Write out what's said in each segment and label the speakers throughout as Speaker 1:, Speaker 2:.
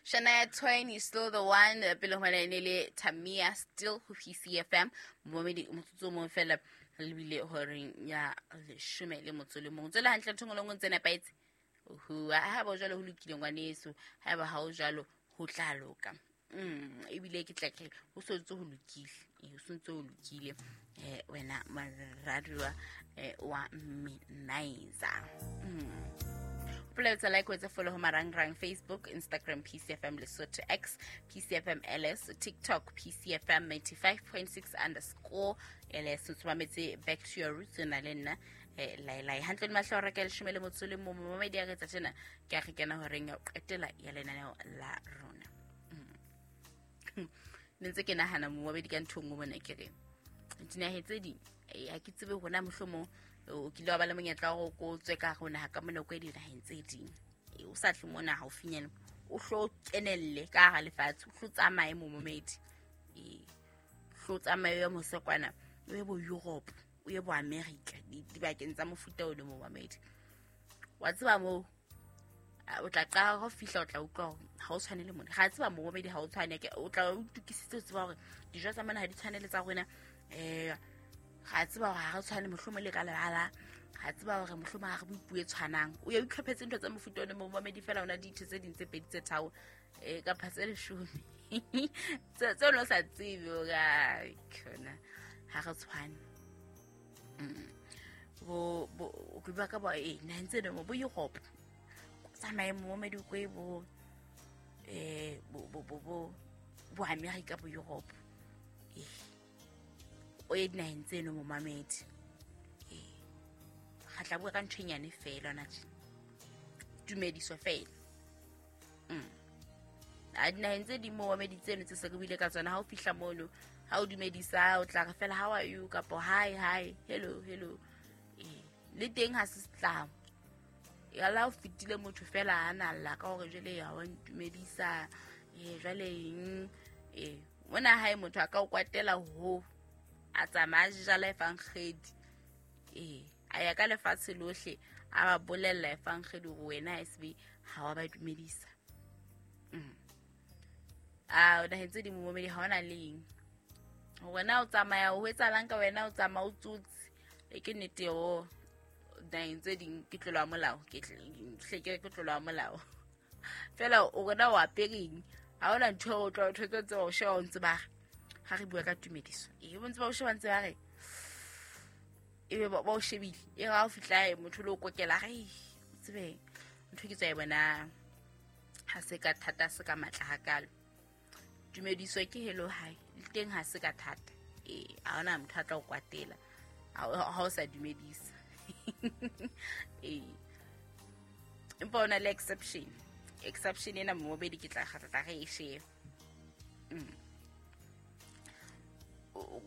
Speaker 1: Shania Twain is still the one. Pele ho e ne le Tamia still ho PCFM. Momedi motsotso o mong fela re lebile horeng ya 11. Tswela hantle ntho e nngwe le nngwe ntse nepahetse. Oho, haeba o jwalo ho lokile ngwaneso, haeba ha o jwalo ho tla loka. Ebile ke tla ke ho so ntse ho lokile. Ho so ntse ho lokile. Wena moradiwa wa Minizer. Hopola like wetsa follow ho marangrang Facebook, Instagram PCFM Lesotho, X PCFM LS, TikTok PCFM 95.6 underscore LS. O mametse Back to Your Roots na le nna lai hantle le mahlo re ka 11. Momedi a re tsa tjena ke a re kena horeng ya ho qetela ya lenaneo la rona. Ne ntse ke nahana momedi ka ntho e nngwe mona ke re dinaheng tse ding ha ke tsebe hona mohlomong o kile wa ba le monyetla wa gore ko tswe ka gare naga ka mona ko dinaheng tse ding, o sa tle mona haufinyana o hlo kenelle ka hara lefatshe, o hlo tsamaye momomedi, hlo tsamaye o ye mose kwana, o ye bo Europe, o ye bo America, dibakeng tsa mofuta o le momamedi. Wa tseba moo o tla qala ho fihla, o tla utlwa hore ha o tshwane le mona. Ga tseba momamedi ha o tshwane, o tla o itukisitse o tseba hore dijo tsa mona ha di tshwane le tsa rona. Ga tseba hore ha re tshwane mohlomong le ka lebala, ga tseba hore mohlomong ha re bue puo e tshwanang. O ye o itlhophetse ntho tsa mofuta one momamedi, fela ona ditho tse ding tse pedi tse tharo kapa tse 10 tse o ne o sa tsebe hore khona ha re tshwane. Bo bo ke bua ka bo naheng tse dingwe bo Europe, tsamaye momamedi o kwe bo bo bo bo bo bo America, bo Europe, o ye dinaheng tseno momamedi. Ga tla bua ka ntho e nyane fela ona tje, tumediso fela. A dinaheng tse ding momamedi tseno tse se re buile ka tsona, ha o fihla mono ha o dumedisa o tla re fela how are you kapo hi hi, hello hello. Le teng ha se setlamo ya la o fetile motho fela a na lla ka hore jwale ha wa ntumedisa, jwale eng. Mona hae motho a ka o kwatela ho a tsamaya jala efankgedi, a ya ka lefatshe lohle a ba bolella efankgedi hore wena SB ha wa ba dumedisa. A naheng tse ding momedi ha ona le eng hore na o tsamaya o etsahalang ka wena, o tsamaya o tsotse. Ke nnete o naheng tse ding ke tlolo ya molao, ke hle ke tlolo ya molao fela o rona o apereng ha ona ntho o tla ntho tse o sheba o ntse ba re ha re bua ka tumediso, bo ntse ba o sheba ntse ba re ebe ba o shebile e ga o fihla motho le o kokela re tsebe ntho ke tswa e bona ha se ka thata, se ka matla hakalo. Tumediso ke hello hi le teng ha se ka thata, ha ona motho a tla o kwatela ha o sa dumedisa. Empa ona le exception ena momobedi ke tla kgatla re e shebe.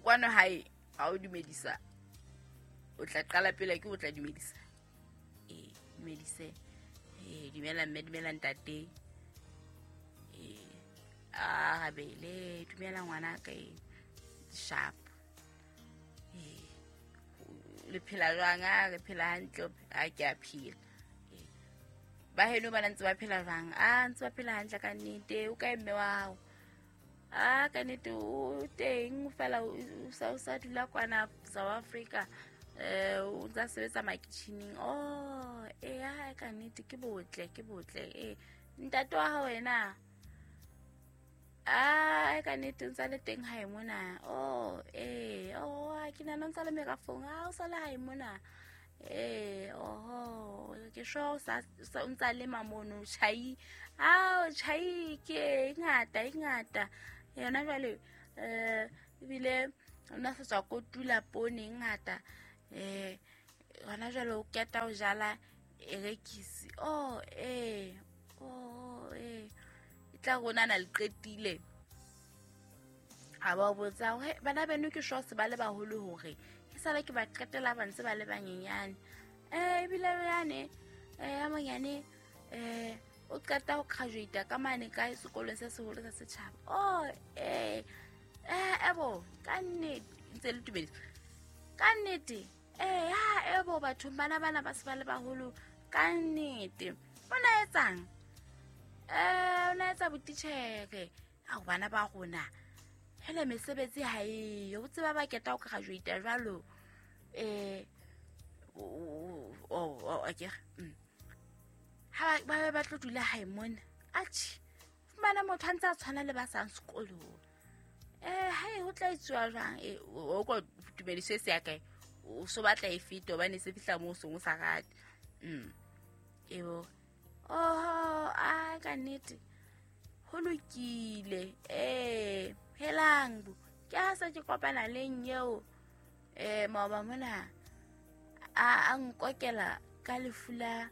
Speaker 1: Kwano hae ha o dumedisa o tla qala pele ke o tla dumedisa, dumedise, dumela mme, dumela ntate, a habele, dumela ngwana ka, sharp, le phela jwang? A re phela hantle, a ke a phela. Ba heno ba ntse ba phela jwang? A ntse ba phela hantle ka nnete. O kae mme wa hao? A ka nnete o teng fela o sa dula kwana South Africa, o ntsa sebetsa makitjhining. Oh ha ka nnete ke botle, ke botle. Ntate wa hao wena? A ka nnete o ntsa le teng hae mona. Oh oh ke nahana o ntsa le merafong, ha o sa le hae mona. Oho ke sure o ntsa lema mono tjhai. Ao tjhai ke e ngata e ngata yona jwale, ebile o na sa tswa kotula poone e ngata, hona jwale o qeta ho jala erekisi. Oh oh e tla rona na le qetile. A ba botsa hore bana beno ke sure se ba le baholo hore ke sala ke ba qetela ba ntse ba le banyenyane. Ebile yane ya monyane o qeta ho graduate ka mane ka sekolong se seholo sa setjhaba. Oh ebo ka nnete ntse le tumedisa ka nnete. Ha ebo batho bana bana ba se ba le baholo ka nnete. O na etsang? O na etsa sebetsa botitjhere. Ao bana ba rona hele mesebetsi ha eyo, o tseba ba keta o graduate jwalo. O akere ha ba ba tlo dula hae mona. Atjhe, fumana motho a ntse a tshwana le ba sang sekolong. Hae ho tla etsuwa jwang? O ko tumediso e se ya kae? O so batla e fete hobane se fihla moo o seng o sa rate. Ebo oho, a ka nnete ho lokile. Helang bo ke ha se ke kopana le eo maoba mona a nkokela ka lefu la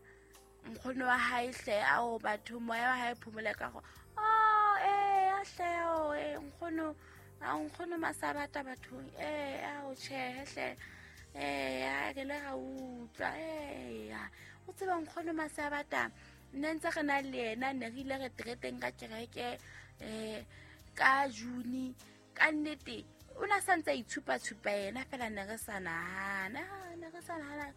Speaker 1: nkgono wa hae hle. Ao batho moya wa hae phomole ka go. Oh hle o nkgono, a nkgono masabata bathong. Ao tjhe hle. A re le ra utlwa. O tseba nkgono masabata nne ntse re na le yena, ne re ile re treteng ka kereke ka June. Ka nnete o na sa ntse a itshupa-tshupa yena fela, ne re sa nahana, ne re sa nahana.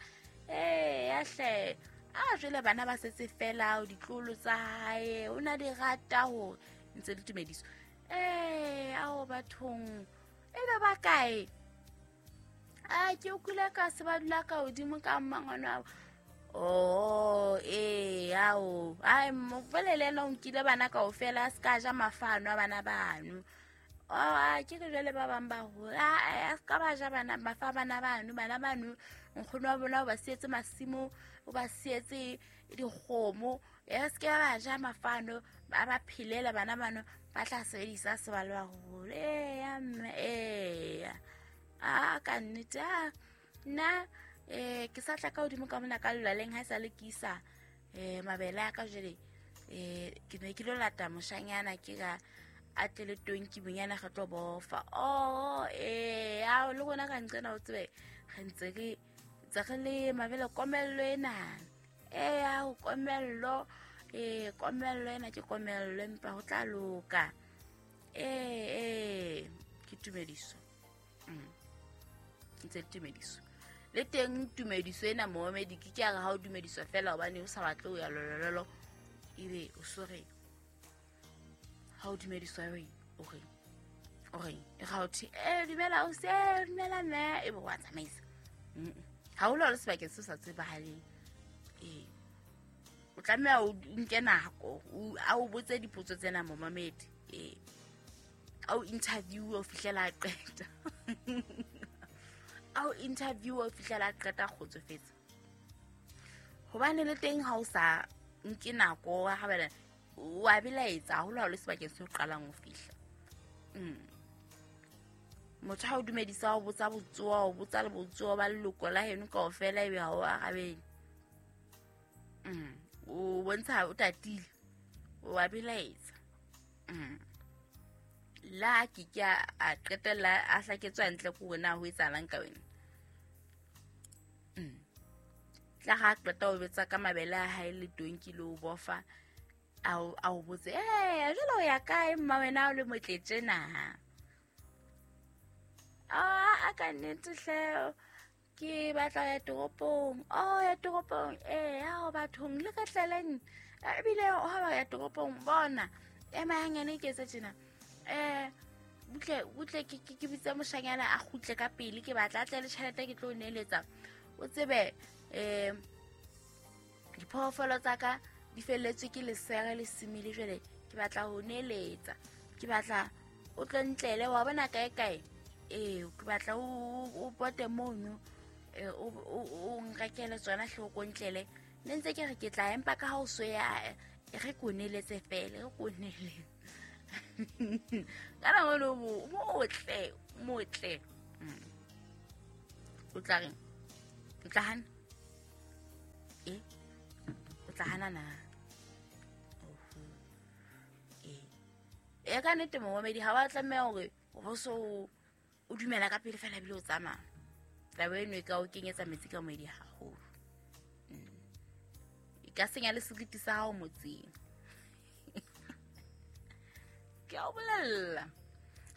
Speaker 1: Hle a jwale bana ba setse fela o ditlolo tsa hae, o na di rata hore ntse le tumediso. Ao bathong e be ba kae? A ke utlwile ka se ba dula ka hodimo ka mmangwana wa. Oh, ao. Ai mo bolele ena o nkile bana kaofela, a se ka ja mafano a bana bano. Oh, ke re jwale ba bang ba hola, a se ka ba ja bana mafa bana bano, bana bano nkgono wa bona o ba sietse masimo, o ba sietse dikgomo, a se ke ba ja mafano, ba ba phelela bana bano, ba tla sebedisa se ba le baholo. Ya mme, a ka nnete nna ke sa tla ka hodimo ka mona ka lelwaleng ha e sa le ke isa mabele a ka jwale. Ke ne ke lo lata moshanyana ke ka a tle le tonki bonyana re tlo bofa. Oh, ao le rona ka nqena o tsebe re ntse re tse re le mabele komello ena. Ao komello, komello ena ke komello empa ho tla loka. Ke tumediso. Ntse le tumediso. Le teng tumediso ena momedi ke ke a re ha o dumediswa fela hobane o sa batle ho ya lolololo, ebe o sore ha o dumediswa o re e ga o thwe dumela o se dumela mme, ebe wa tsamaisa. Ha o le sebakeng se sa tsebahaleng, o tlameha o nke nako a o botse dipotso tsena momamedi, a o interview o fihlela a qeta. A o interview o fihlela a qeta kgotsofetse. Hobane le teng ha o sa nke nako wa habela wa belaetsa haholo ha o le sebakeng se o qalang ho fihla. Motho ha o dumedisa o botsa botsoa, o botsa le botsoa ba leloko la heno kaofela, ebe ha o arabele. O bontsha o tatile, o wa belaetsa. La ke ke a qetella a hlaketswa ntle ko wena ho etsahalang ka wena. Tla ha qeta o betsa ka mabele a hae le tonki le o bofa, a o botse, jwale o ya kae mma wena o le motle tjena? A ka nnete hle ke batla ya toropong. Oh, ya toropong. Ao bathong le ka tleleng. Ebile ha ba ya toropong bona ema hanyane ke etse tjena. Butle ke bitse moshanyana a kgutle ka pele, ke batla a tle le tjhelete ke tlo neeletsa. O tsebe diphoofolo tsa ka di felletswe ke lesere le simile jwale ke batla ho neeletsa. Ke batla o tlo ntlele wa bona kae kae. Ke batla o pote mono, o nrekele tsona hle o ko ntlele. Ne ntse ke re ke tla empa ka ha o so ya re ko neeletse fela, re ko neeletse. Kana mono motle, motle. O tla reng? O tla hana? O tla hana na? Ka nnete momamedi ha wa tlameha hore o so o dumela ka pele fela ebile o tsamaya. Taba eno e ka o kenyetsa metsi ka moedi haholo. E ka senya le seriti sa hao motseng. Ke a o bolella.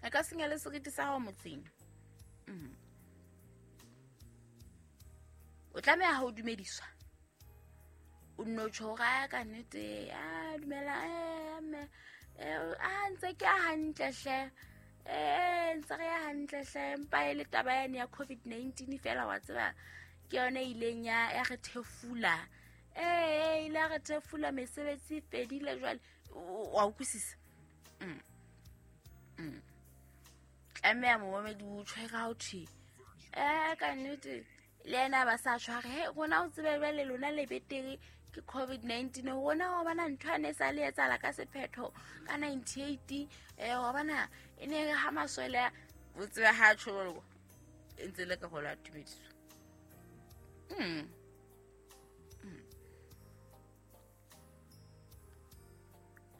Speaker 1: E ka senya le seriti sa hao motseng. O tlameha ha o dumediswa. O nno tjho hore ka nnete, a dumela mme. Ntse ke ya hantle hle. Ntse re ya hantle hle, empa e le taba yane ya COVID-19 fela wa tseba ke yone e ileng ya re thefula. Ile ya re thefula, mesebetsi e fedile jwale. Wa utlwisisa? Tlameha momamedi o tjho ka ho thwe. Ka nnete le yena ba sa tshware. He rona o tsebe jwale lona le betere ke COVID-19, rona wa bona ntho ane sa le etsahala ka sephetho ka 98. Wa bona e ne re ha maswele o tsebe ha tjho e ntse le ka go la tumediso.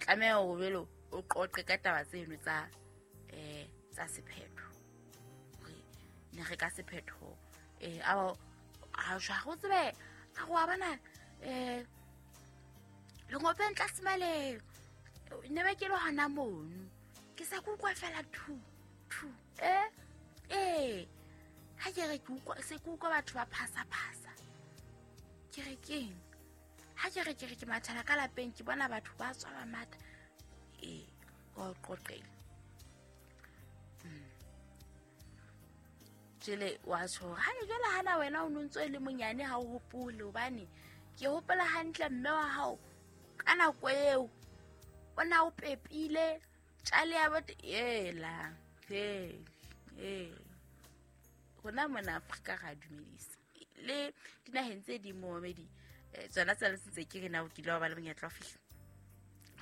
Speaker 1: Tlameha hore jwale o qoqe ka taba tseno tsa tsa sephetho. Hore ne re ka sephetho a jwa go tsebe a go bona lengopeng tlase male ne ba ke le hona mono ke sa kutlwa fela thu thu ha ke re ke utlwa se ke utlwa batho ba phasa phasa ke re keng ha ke re ke re ke mathela ka lapeng ke bona batho ba tswa ba mata o qoqele jele wa tjho ha jwale hana wena o ntso le monyane ha o hopole hobane ke hopola hantle mme wa hao ka nako eo o na o pepile tjale ya bot ela he rona mona Afrika ga dumedisa le dinaheng tse ding momedi tsona tsa le sentse ke re na o kile wa ba le monyetla wa fihla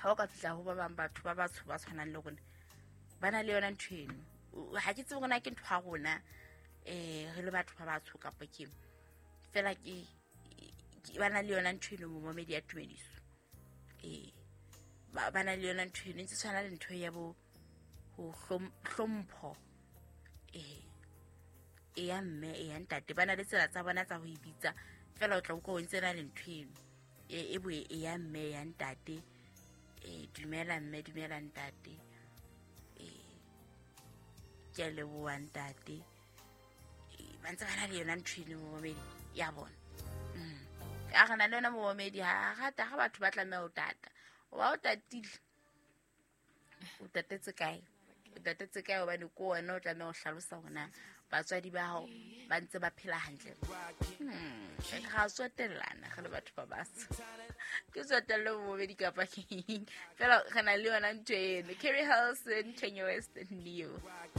Speaker 1: ha o ka fihla ho ba bang batho ba batsho ba tshwanang le rona ba na le yona ntho eno ha ke tsebe rona ke ntho ya rona re le batho ba batsho kapa ke fela ke ba na le yona ntho eno momedi ya tumediso ba na le yona ntho eno ntse tshwana le ntho ya bo ho hlompho e ya mme e ya ntate ba na le tsela tsa bona tsa ho e bitsa fela o tla utlwa o ntse na le ntho eno e bo e ya mme ya ntate dumela mme dumela ntate ke a leboha ntate ba ntse ba na le yona ntho eno momedi ya bona. A re na le yona momedi ha rata ha batho ba tlameha ho tata o ba o tatile o tatetse kae o tatetse kae hobane ko wena o tlameha ho hlalosa hore na batswadi ba hao ba ntse ba phela hantle. Ga tsotellana re le batho ba batsho ke tsotelle momedi kapa keng fela re na le yona ntho eno. Kerry Hilson, Kanye West, Neo.